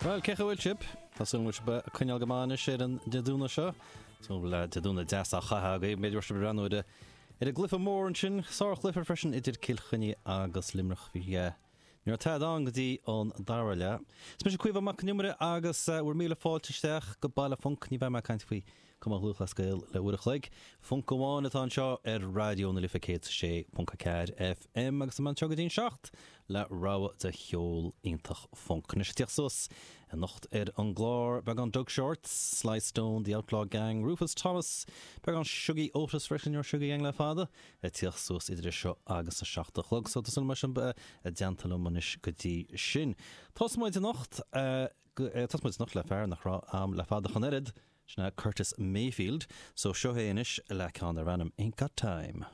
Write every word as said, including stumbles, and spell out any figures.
Well cén chaoi a bhfuil sibh Tá súil agam go bhfuil sibh ag coinneáil go maith anois ar an Dé Domhnaigh seo So le Dé Domhnaigh deas á chaitheamh agaibh b'fhéidir sibh breathnú ar ar an gcluiche mór ansin sárchluiche freisin idir Cill Chainnigh agus Luimneach bhí Ní raibh tada ann go dtí an dara leath. Is mise Caoimhe Mac Con Iomaire agus bhur míle fáilte isteach go Baile Func ní bheidh mé ag caint faoi Cumann Lúthchleas Gael le uair a chloig. Func amháin atá anseo ar Raidió na Life céad sé ponc a ceathair FM agus an seo go dtí an seacht le rogha de cheol iontach func. Anois ag tíocht suas anocht ar an gclár beagán Doug Shorts, Sly Stone, The Outlaw Gang, Rufus Thomas, beagán Shuggie Otis freisin ar Shuggie Gang le fada, ag tíocht suas idir seo agus a seacht a chlog, so tá mar sin i dteannta liom anois go dtí sin. Tosóidh muid anocht tosóidh muid anocht le fear nach raibh agam le fada ach an oiread, sin Curtis Mayfield, so seo é anois le ceann darb ainm Ain't Got Time.